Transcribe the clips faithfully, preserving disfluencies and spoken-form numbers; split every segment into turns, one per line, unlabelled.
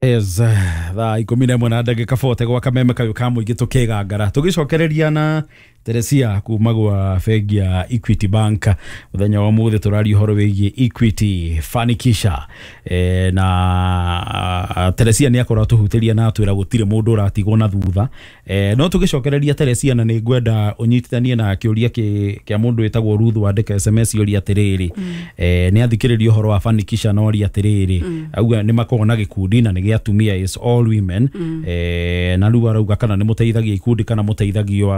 Yes, thaa ikũmi na ĩmwe na ndagĩka bote gwa kameme kayũ ka mũingĩ tũkĩgangara tũgĩcokereria na Teresia kuma gwa bengi ya Equity Bank. Mũthenya wa ũmũthĩ tũraria ũhoro wĩgiĩ Equity Fanikisha. e, na Teresia nĩ akorwo atũhutĩria na atwĩra gũtirĩ mũndũ ũratigwo na thutha. e, no tũgĩcokereria Teresia, na nĩ ngwenda ũnyitithanie na kĩũria kĩa mũndũ wĩtagwo Ruth wandĩka S M S ũria atĩrĩrĩ, mm. e, nĩ athikĩrĩria ũhoro wa Fanikisha na oria atĩrĩrĩ, mm. auga nĩ makoragwo na gĩkundi na nĩ gĩa atumia, is all women. mm. e, na rĩu arauga kana nĩ mũteithagia ikundi kana mũteithagio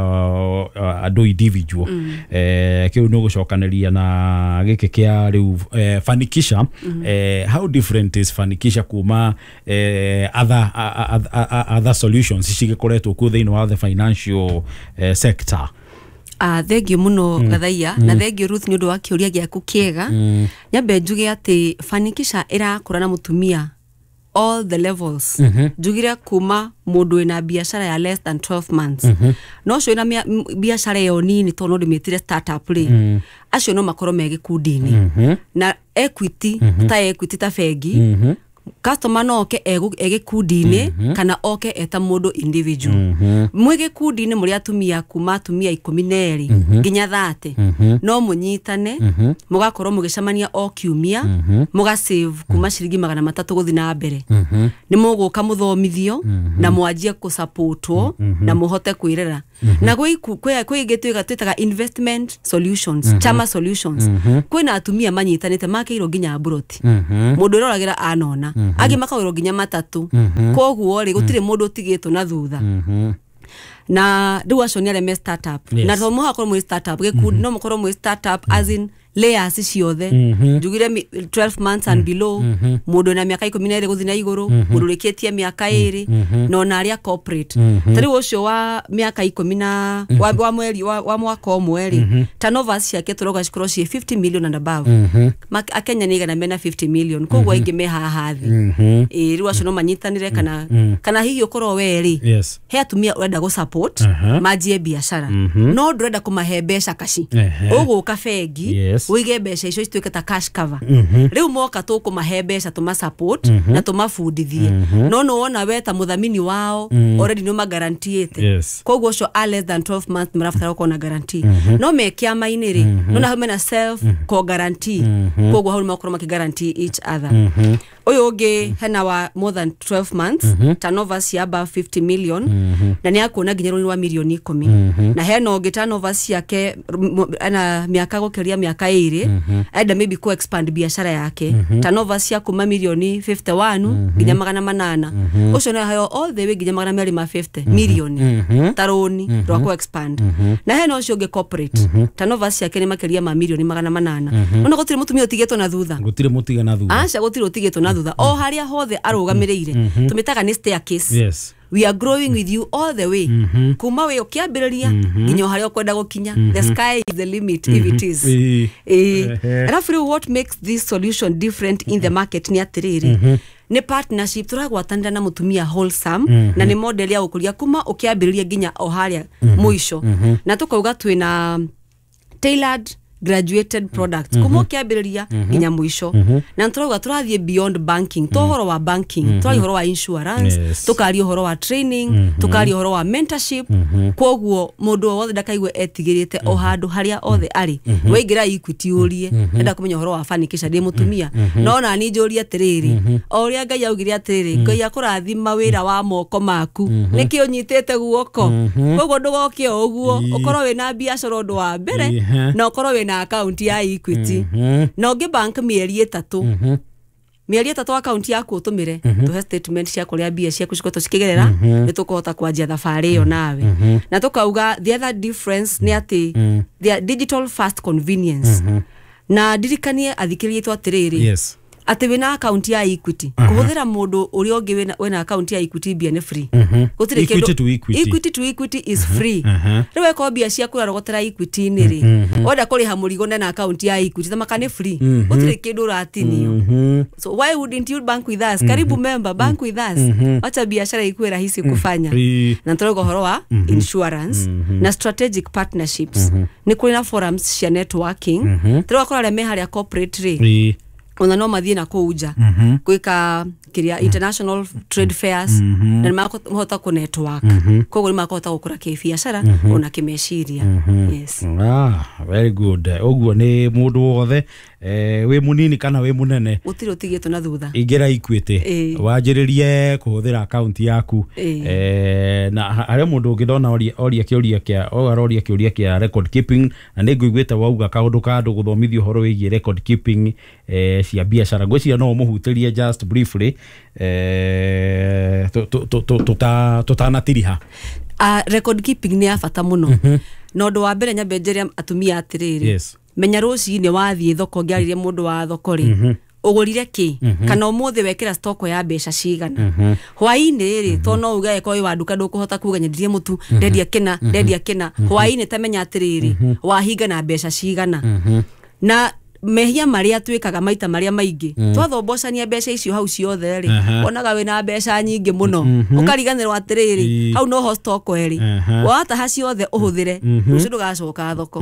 andũ individual. mm. eh kiu no gucokaneria na giki kia riu eh, Fanikisha. mm. eh, how different is Fanikisha kuma eh, other uh, other solutions cigikoretwo ku thiini wa the financial eh, sector?
Ah, thengio muno mm. Gathaiya. mm. Na thengio Ruth ni undu wa kiuria giaku kiega. mm. Nyambe njuge ati Fanikisha irakura na mutumia all the levels. mm -hmm. Njugire kuma mundu wina biashara ya less than twelve months. mm -hmm. No cio ina biashara yo nini to no ndimitire startup ri, mm. acio no makorwo me gikundi-ini. mm -hmm. Na Equity, mm -hmm. ta Equity ta bengi, mm -hmm. customer no oke e gikundi-ini, mm -hmm. kana oke eta mundu individual. mm -hmm. Mwi gikundi-ini muri atumia kuma atumia ikumi na eri mm -hmm. nginya thate, mm -hmm. no munyitane, mm -hmm. mugakorwo mugicemania o kiumia, mm -hmm. muga save kuma ciringi magana matatu guthi na mbere. mm -hmm. Ni muguka muthomithio, mm -hmm. na mwanjie kusupportwo, mm -hmm. na muhote kwirera. mm -hmm. Na gwi kwi ingi twitaga investment solutions, mm -hmm. chama solutions. mm -hmm. Kwina atumia manyitanite makeirwo nginya mburoti. mm -hmm. Mundu uroragira anona, mm -hmm. angi makawirwo nginya matatu. mm -hmm. Koguo ri gutire mundu utigitwo na thutha. mm -hmm. Na riu acio ni aria me startup. Yes. Na to muhakorwo mwi startup gikundi, no mukorwo mwi startup as in layers ciothe. Njugire twelve months and below, mundu na miaka ikumi na iri guthi na iguru, mundu urikitie miaka iri, na ona aria corporate. Ta riu ucio wa miaka ikumi na wa, wa mweri wa, wa mwaka umwe ri, turnovers ciake turoga cikorwo ci fifty million and above. Akenya ni igana mena fifty million, koguo aingi me haha thi. Ĩ riu acio no manyitanire kana kana hihi ukorwo we ri,
yes,
he atumia urenda gu support manjie biashara, no ndurenda kumahe mbeca kaci, uguka bengi,
yes,
wige mbeca icio cituike ta cash cover. Riu moka tukumahe mbeca tuma support, mm -hmm. na tumabundithie. mm -hmm. No no wona we ta muthamini wao, mm. already no magarantiete.
Yes.
Koguo ucio a less than twelve months marabatara gukorwo na guarantee. mm -hmm. No me kiama-ini ri, mm -hmm. no na hau mena self ko guarantee. mm -hmm. Koguo hau makorwo maki guarantee each other. mm -hmm. Uyu ungi hena wa more than twelve months, mm -hmm. turnover cia above fifty million, mm -hmm. na ni akuona nginya rũni rwa milioni ikumi. mm -hmm. Na hena ungi turnover ciake ana miaka gukiria miaka iri, mm -hmm. enda maybe ku expand biashara yake, mm -hmm. turnover cia kuma milioni fifty one nginya mm -hmm. magana manana. mm -hmm. Ucio na hayo all the way nginya magana meri ma fifty mm -hmm. milioni mm -hmm. taroni mm -hmm. rwa ku expand. mm -hmm. Na hena ucio ungi corporate, mm -hmm. turnover ciake ni makiria ma milioni magana manana. mm -hmm. Ona gutiri mutumia utigitwo na thutha,
gutiri mutiga na thutha,
aca gutiri utigitwo na thutha. O haria hothe arugamiriire, mm -hmm. tumitaga ni staircase.
Yes.
We are growing with you all the way. mm -hmm. Kuma we ukiambiriria nginya haria ukwenda gukinya. mm -hmm. The sky is the limit. mm -hmm. If it is. Eh, alafu riu what makes this solution different in the market ni atiriri, mm -hmm. ni partnership turagwatanira na mutumia wholesome. mm -hmm. Na ni model ya gukuria kuma ukiambiriria nginya o haria mm -hmm. muico. mm -hmm. Na tukauga twina tailored graduated products, mm -hmm. kuma ukiambiriria nginya muico. mm -hmm. Na turauga turathie beyond banking, to horo wa banking, mm -hmm. turaria horo wa insurance,
yes,
tukaria horo wa training, mm -hmm. tukaria horo wa mentorship. mm -hmm. Koguo mundu o wothe ndakaigue etigirite o handu haria othe ari. mm -hmm. Waingira Equity urie, mm -hmm. enda kumenya horo wa Fanikisha ndi mutumia. mm -hmm. No na ni njurie atiriri, mm -hmm. o uria Ngai augire atiriri, Ngai akurathima wira wa moko maku, mm -hmm. niki unyitite guoko. mm -hmm. Koguo ndugoke o uguo, ukorwo wina biashara undu wa mbere, mm -hmm. na ukorwo wina account ya Equity. mm -hmm. Na ungi bank mieri itatu, mm -hmm. mieri itatu account yaku utumire, mm -hmm. tuhe statement cia kuria mbia ciaku cikoretwo cikigerera, mm -hmm. ni tukuhota kwanjia thabari iyo nawe. mm -hmm. Na tukauga the other difference ni ati, mm -hmm. the digital fast convenience. mm -hmm. Na ndirikanie athikiririe tu atiriri,
yes,
ati wina account ya Equity, kuhuthira mundu uria ungi wina wina account ya Equity mbia ni free. Gutiri
kindu to Equity,
Equity to Equity is free. Riu eko mbia ciaku urarogotera Equity ni ri, wenda kuriha murigo na account ya Equity tamaka ni free, gutiri kindu uratinio. So why wouldn't you bank with us? Karibu member, bank with us. Wacha biashara ikuwe rahisi kufanya. Na turauga horo wa insurance na strategic partnerships. Ni kuri na forums cia networking. Turauga kora me haria corporate ri, ona no mathie na kuu nja gwika kiria international trade fairs na nĩ makũhota kũ network. Koguo nĩ makũhota gũkũra kĩbiacara ona kĩmeciria. Yes.
Ah, very good. Ũguo nĩ mũndũ wothe eh, wĩ mũnini kana wĩ mũnene,
gũtirĩ ũtigĩtwo na thutha.
Ingĩra Equity,
Ĩĩ.
wanjĩrĩrie kũhũthĩra akaunti yaku.
Ĩĩ.
eh, na harĩa mũndũ ũngĩ ndona oria oria kĩũria kĩa o aroria kĩũria kĩa record keeping, na nĩ ngũiguĩte wauga kaũndũ ka andũ gũthomithio ũhoro wĩgiĩ record keeping eh, cia biacara. Ngwĩciria no ũmũhutĩrie just briefly eh, tũ- tũ- tũ- tũ- tũta- tũtanatiriha.
Uh, record keeping nĩ ya bata mũno, na ũndũ wa mbere nyambe njĩre atumia atĩrĩrĩ,
Yes.
menya rũcinĩ wathiĩ thoko, ngĩarĩrie mũndũ wa thoko rĩ, ũgũrire kĩ, kana ũmũthĩ wekĩra stoko ya mbeca cigana. Hwaĩ-inĩ rĩ, to no uge angĩkorwo wĩ wa nduka ndũkũhota kuga nyendirie mũtu, ndendia kĩna, ndendia kĩna. Hwaĩ-inĩ tamenya atĩrĩrĩ, wahinga na mbeca cigana. Na mehia marĩa twĩkaga maita marĩa maingĩ, twathombocania mbeca icio hau ciothe rĩ,
Aha.
wonaga wĩna mbeca nyingĩ mũno, ũkariganĩrwo atĩrĩrĩ,
Ii.
hau noho stoko ĩrĩ.
Aha.
Wataha ciothe ũhũthĩre, rũciũ ndũgacoka thoko.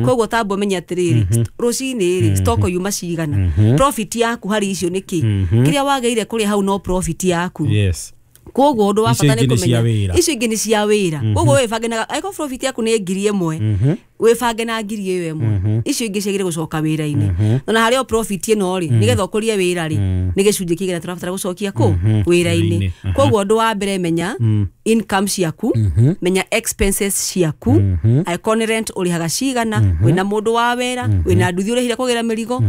Koguo tamba ũmenye atĩrĩrĩ, st- rũcinĩ rĩ, stoko yuma cigana, profit yaku harĩ icio nĩ kĩ, kĩrĩa wagĩrĩire kũrĩa hau no profit yaku.
Yes
Koguo ũndũ wa
Icio
bata nĩ
ingĩ nĩ cia
kũmenya
wĩra.
Icio ingĩ nĩ cia wĩra. Koguo wĩbange na angĩkorwo profit yaku nĩ ngiri ĩmwe, wĩbange na ngiri ĩyo ĩmwe, icio ingĩ ciagĩrĩire gũcoka wĩra-inĩ. Na harĩa o profit ĩno rĩ, nĩgetha ũkũrie wĩra rĩ, nĩ gĩcunjĩ kĩigana tũrabatara gũcokia kũ wĩra-inĩ.
Wĩra-inĩ.
Koguo ũndũ wa mbere, menya income ciaku, menya expenses ciaku, angĩkorwo nĩ rent ũrĩhaga cigana, wĩna mũndũ wa wĩra, wĩna nduthi ũrĩhire kũgĩra mĩrigo.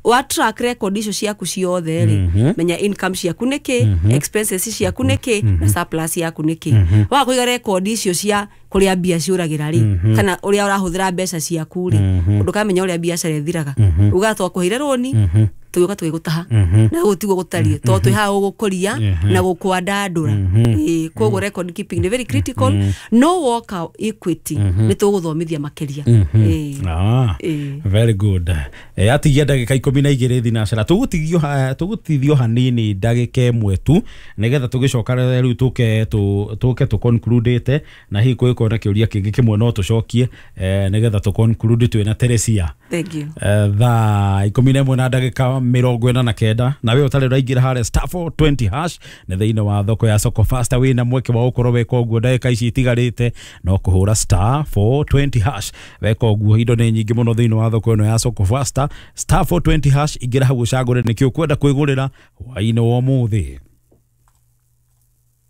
Wa track record icio ciaku ciothe rĩ, menya income ciaku nĩ kĩ, expenses ciaku nĩ kĩ, na surplus yaku nĩ kĩ. Waga kũiga record icio cia kũrĩa mbia ciũragĩra rĩ, kana ũrĩa ũrahũthĩra mbeca ciaku rĩ, ndũkamenya ũrĩa biacara ĩthiraga. Ugaga twakũheire rũni, tũgĩũka tũgĩgũtaha, na gũkũ tiguo gũtariĩ, tondũ twĩ haha gũgũkũria na gũkwandandũra. Ĩĩ, koguo record keeping nĩ very critical. No woka Equity nĩ tũgũthomithia makĩria. Ĩĩ.
Ah,
Ĩĩ.
very good. Eh, atigia ndagĩka ikũmi na igĩrĩ thinacara, tũgũtigio ha- tũgũtithio hanini ndagĩka ĩmwe tu, nĩgetha tũgĩcoka rĩu tũke tũ- tũke tũ conclude, na hihi kũngĩkorwo na kĩũria kĩngĩ kĩmwe no tũcokie, eh, nĩgetha tũ conclude twĩna Teresia.
Thank you.
Eh, thaa ikũmi na ĩmwe na ndagĩka mĩrongo ĩna na kenda. Na we ũtarĩ ũraingĩra harĩa star four twenty hash, nĩ thĩinĩ wa thoko ya Soko Fasta, wĩna mweke wa gũkorwo weka ũguo ndagĩka ici itigarĩte, no kũhũra star four twenty hash. Weka ũguo, indo nĩ nyingĩ mũno thĩinĩ wa thoko ĩno ya Soko Fasta. Star four twenty hash, ingĩra hau ũcagũre nĩkĩ ũkwenda kwĩgũrĩra hwaĩ-inĩ wa ũmũthĩ.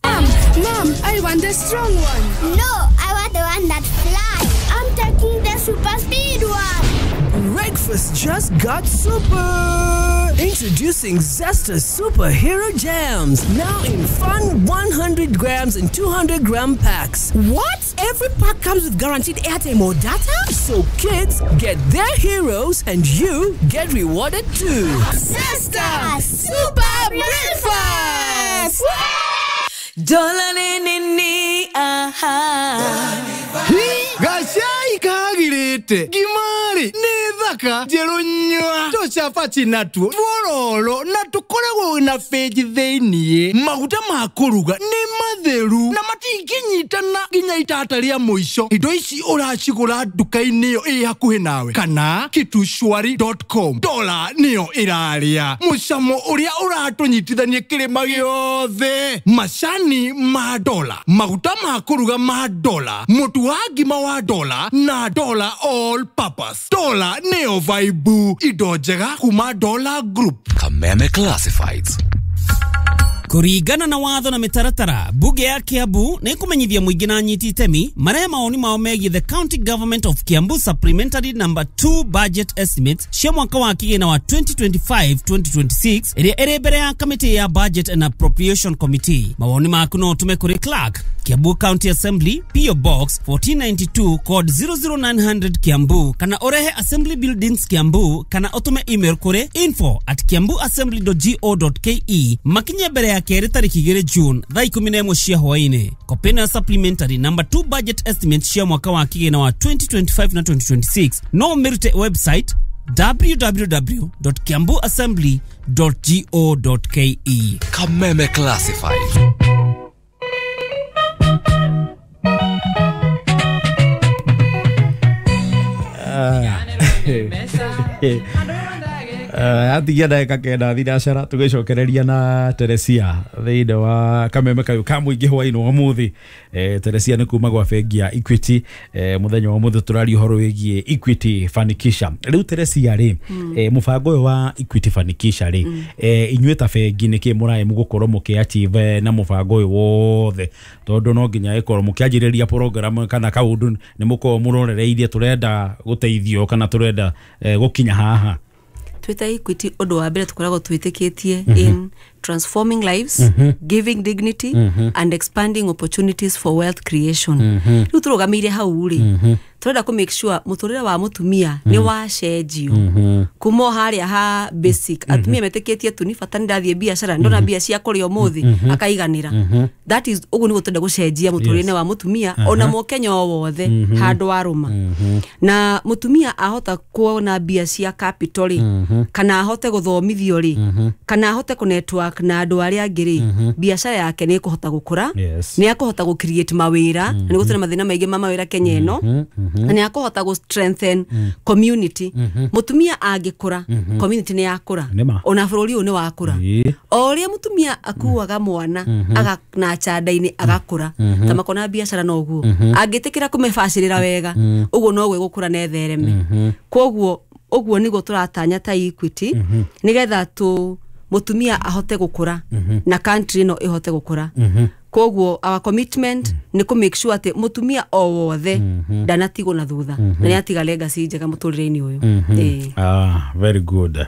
Mom, Mom, I want the strong one.
No, I want the one that flies. I'm taking the super speed one.
Breakfast just got super! Introducing Zesta Superhero Jams, now in fun one hundred grams and two hundred gram packs.
What? Every pack comes with guaranteed airtime or data?
So kids get their heroes and you get rewarded too.
Zesta Super Breakfast!
Dola nini aha.
Gacai kagirĩte ngimari nĩ thaka njerũ nyua tũcabaci natuo twororo na tũkoragwo na benji thĩiniĩ. Maguta ma kũruga nĩ matheru na matingĩnyitana nginya itata rĩa mũico. Indo ici ũracigũra nduka-inĩ ĩyo ĩ hakuhĩ nawe kana kitushwari dot com. Dola nĩyo ĩrarĩa mũcamo ũrĩa ũratũnyitithania kĩrĩma gĩothe. Macani ma Dola, maguta ma kũruga ma Dola, mũtu wa ngima wa Dola na Dola all purpose. Dola nĩyo vaibu, indo njega kuma Dola Group.
Kameme Classifieds.
Kũringana na watho na mĩtaratara, bunge ya Kiambu nĩ ĩkũmenyithia mũingĩ na anyiti itemi marehe mawoni mao megiĩ the County Government of Kiambu Supplementary Number two Budget Estimates cia mwaka wa kĩgĩna wa twenty twenty-five twenty twenty-six ĩrĩa ĩrĩ mbere ya kamĩtĩ ya Budget and Appropriation Committee. Mawoni maku no ũtũme kũrĩ Clerk, Kiambu County Assembly, P O Box fourteen ninety-two, code zero zero nine hundred, Kiambu, kana ũrehe Assembly Buildings, Kiambu, kana ũtũme email kũrĩ info at kiambuassembly dot go dot ke, makinye mbere ya kerĩ tarĩki igĩrĩ June thaa ikũmi na ĩmwe cia hwaĩ-inĩ. Kopĩ ĩno ya supplementary number two budget estimate cia mwaka wa kĩgĩna wa twenty twenty-five na twenty twenty-six no ũmĩrute website w w w dot kiambuassembly dot go dot k e.
Kameme Classifieds.
Atigia ndagĩka kenda thinacara tũgĩcokereria na Teresia thĩinĩ wa kameme kayũ ka mũingĩ hwaĩ-inĩ wa ũmũthĩ. Eh, Teresia nĩ kuma gwa bengi ya Equity. Eh, mũthenya wa ũmũthĩ tũraria ũhoro wĩgiĩ Equity Fanikisha. Rĩu Teresia rĩ, eh, mũbango ũyũ wa Equity Fanikisha rĩ, eh, inyuĩ ta bengi nĩkĩ mũraĩ mũgũkorwo mũkĩ-achieve na mũbango ũyũ wothe, tondũ no nginya ĩkorwo mũkĩanjĩrĩria program kana kaũndũ nĩ mũkorwo mũrorereirie tũrenda gũteithio kana tũrenda eh, gũkinya haha.
Twita Equity ũndũ wa mbere tũkoragwo twĩtĩkĩtie in transforming lives, giving dignity and expanding opportunities for wealth creation. Rĩu tũrũgamĩire hau rĩ, tũrenda kũ make sure mũtũrĩre wa mũtumia nĩ wacenjio kuma o harĩa ha basic. Atumia metĩkĩtie tu ni bata nĩ ndathiĩ biacara ndona mbia cia kũrĩa ũmũthĩ akaiganĩra. That is ũguo nĩguo tũrenda gũcenjia mũtũrĩre wa mũtumia ona mũkenya o wothe handũ arũma. Na mũtumia ahota kuona mbia cia capital rĩ, kana ahote gũthomithio rĩ, kana ahote kũ network na andũ arĩa angĩ rĩ, biacara yake nĩ ĩkũhota gũkũra,
Yes.
nĩ akũhota gũ create mawĩra, na nĩ gũtũrĩ mathĩna maingĩ ma mawĩra Kenya ĩno, na nĩ akũhota gũ strengthen community. Mũtumia angĩkũra, community nĩ yakũra,
Nĩma.
ona bũrũri ũyũ nĩ wakũra.
Ĩĩ.
O ũrĩa mũtumia akuaga mwana aga na chanda-inĩ agakũra, ta makona biacara noguo angĩtĩkĩra kũmĩbacĩrĩra wega, ũguo noguo ĩgũkũra na ĩthereme. Koguo ũguo nĩguo tũratanya ta Equity, nĩgetha tu mũtumia ahote gũkũra na country ĩno ĩhote gũkũra. Koguo our commitment nĩ kũ make sure atĩ mũtumia o wothe ndanatigwo na thutha na nĩ atiga legacy njega mũtũrĩre-inĩ ũyũ. Ĩĩ.
Ah, very good.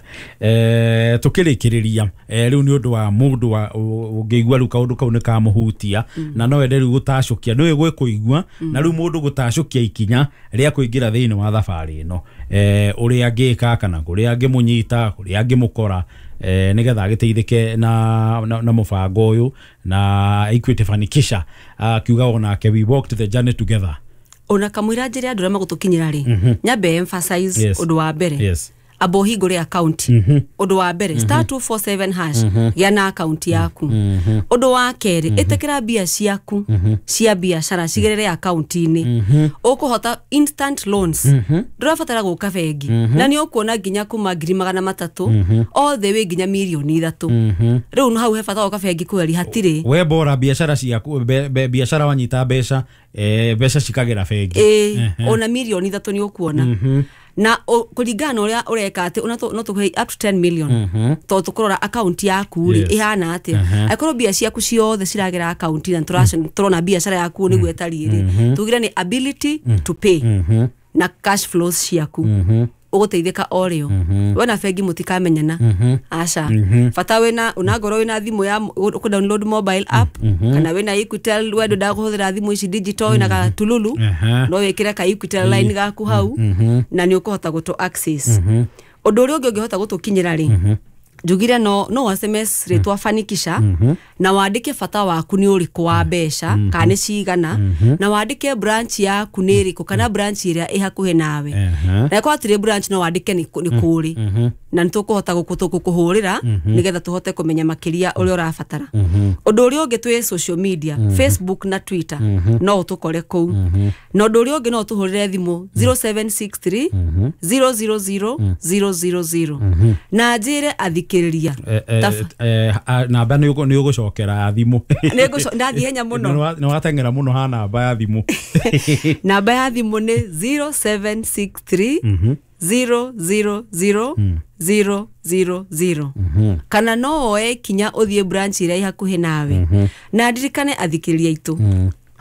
Eh, tukĩrĩkĩrĩria eh, rĩu nĩ ũndũ wa mũndũ wa ũngĩigua rĩu kaũndũ kau nĩ kamũhutia na no ende rĩu gũtacũkia nĩ gwĩ kũigua na rĩu mũndũ gũtacũkia ikinya rĩa kũingĩra thĩinĩ wa thabarĩ ĩno, eh, ũrĩa angĩka kana kũrĩa angĩmũnyita kũrĩa angĩmũkora, eh, nĩgetha agĩteithĩke na, na, na mũbango ũyũ na Equity Fanikisha, akiuga onake we walked the journey together.
Ona kamũira njĩre andũ arĩa magũtũkinyĩra rĩ, nyambe emphasize
Yes.
ũndũ wa mbere,
Yes.
amba ũhingũre account. Ũndũ wa mbere, star two four seven hash, gĩa na account yaku. Ũndũ wa kerĩ, ĩtĩkĩra mbia ciaku cia biacara cigerere account-inĩ, ũkũhota instant loans, ndũrabatara gũka bengi, na nĩ ũkuona nginya kuma ngiri magana matatũ all the way nginya mirioni ithatũ. Rĩu hau he bata gũka bengi kweri hatirĩ.
We bora biacara ciaku be, be, biacara wanyita mbeca, eh, mbeca cikagera bengi.
Ĩĩ, ona mirioni ithatũ nĩ ũkuona na o- kũringana na ũrĩa ũreka atĩ ona tũ- no tũkũhe up to ten million, tondũ tũkũrora account yaku rĩ
Yes.
ĩhana atĩa. Angĩkorwo mbia ciaku ciothe ciragera account na tũrac- tũrona biacara yaku nĩguo ĩtariĩ rĩ, tugire nĩ ability to pay na cash flows ciaku, ũgũteithĩka o rĩo. We na bengi mũtikamenyana, aca. Bata wĩna onangorwo wĩna thimũ ya kũ download mobile app kana wĩna Equitel, we ndwendaga kũhũthĩra thimũ ici digital, wĩna gatululu,
Aha.
no wĩkĩre ka Equitel line gaku hau na nĩ ũkũhota gũtũ access. Ũndũ ũrĩa ũngĩ ũngĩhota gũtũkinyĩra rĩ, njugire no no S M S rĩtwa Fanikisha na wandĩke bata waku nĩ ũrĩkũ wa mbeca kana nĩ cigana, na wandĩke branch yaku nĩ ĩrĩkũ kana branch ĩrĩa ĩ hakuhĩ nawe,
Aha.
na ĩkorwo hatirĩ branch no wandĩke nĩ kũ- nĩ kũrĩ, na nĩ tũkũhota gũkũ- gũkũhũrĩra nĩgetha tũhote kũmenya makĩria ũrĩa ũrabatara. Ũndũ ũrĩa ũngĩ, twĩ social media, Facebook na Twitter, no ũtũkore kũu. Na ũndũ ũrĩa ũngĩ, no ũtũhũrĩre thimũ zero seven six three zero zero zero zero zero zero. Na njĩre athikĩrĩria
Eh, eh,
Tafa-
eh, ah, namba nĩ ũgũ- nĩ ũgũcokera thimũ.
Nĩ ngũco- ndathiĩ ihenya mũno.
Nĩ wa- nĩ wateng'era mũno ha namba ya thimũ.
Namba ya thimũ nĩ zero seven six three zero zero zero zero zero zero, kana no woe kinya ũthiĩ branch ĩrĩa ĩ hakuhĩ nawe. Na ndirikane athikĩrĩria aitũ,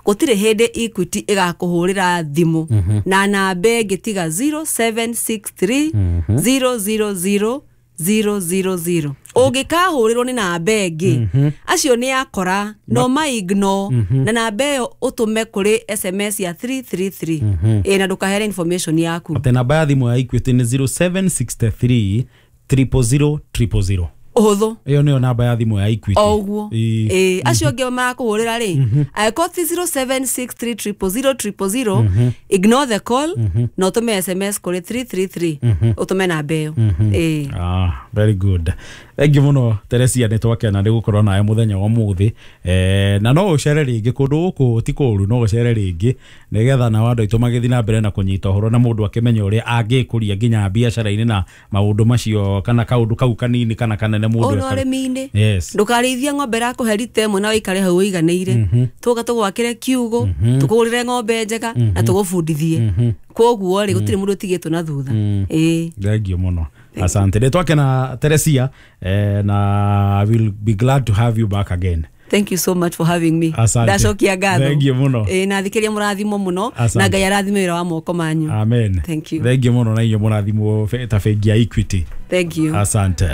gũtirĩ hĩndĩ Equity ĩgakũhũrĩra thimũ na namba ĩngĩ tiga zero seven six three zero zero zero zero zero zero. Ũngĩkahũrĩrwo nĩ namba ĩngĩ, acio nĩ akora no ma ignore, na namba ĩyo ũtũme kũrĩ S M S ya three three three. Ĩ, na ndũkaheane information yaku.
Atĩ namba ya thimũ ya Equity nĩ zero seven six three triple zero triple zero.
Ũhũthũ.
Ĩyo nĩyo namba ya thimũ ya Equity.
O ũguo.
Ĩĩ.
Ĩĩ, acio angĩ marakũhũrĩra rĩ, angĩkorwo ti zero seven six three triple zero triple zero, ignore the call na ũtũme S M S kũrĩ three three three, ũtũme namba ĩyo. Ĩĩ.
Ah, very good. Thank you muno Teresia, nĩ twakena nĩ gũkorwo nawe mũthenya wa mũthĩ. Eh, na no ũcere rĩngĩ kũndũ gũkũ ti kũũru, no ũcere rĩngĩ nĩgetha nao andũ aitũ magĩthiĩ na mbere na kũnyita ũhoro na mũndũ akĩmenya ũrĩa angĩkũria nginya biacara-inĩ na maũndũ macio kana kaũndũ kau kanini kana kanene mũndũ
Ona
ekaga.
ũrĩmi-inĩ
Yes.
ndũkarĩithie ng'ombe ĩrakũhe rita ĩmwe na wĩikare hau ũiganĩire. Tũka tũgwakĩre kiugũ, tũkũgũrĩre ng'ombe njega na tũgũbundithie. Koguo rĩ, gũtirĩ mũndũ ũtigĩtwo na thutha. Ĩĩ.
Thank you muno, asante. Nĩ twakena Teresia, eh, na I will be glad to have you back again.
Thank you so much for having me.
Asante.
Ndacokia ngatho.
Thank you mũno.
Ĩĩ, na thikĩria mũrathimo mũno.
Asante.
Na Ngai arathime wĩra wa moko manyu.
Amen.
Thank you.
Thank you muno, na inyuĩ mũrathimwo ta bengi ya Equity.
Thank you.
Asante.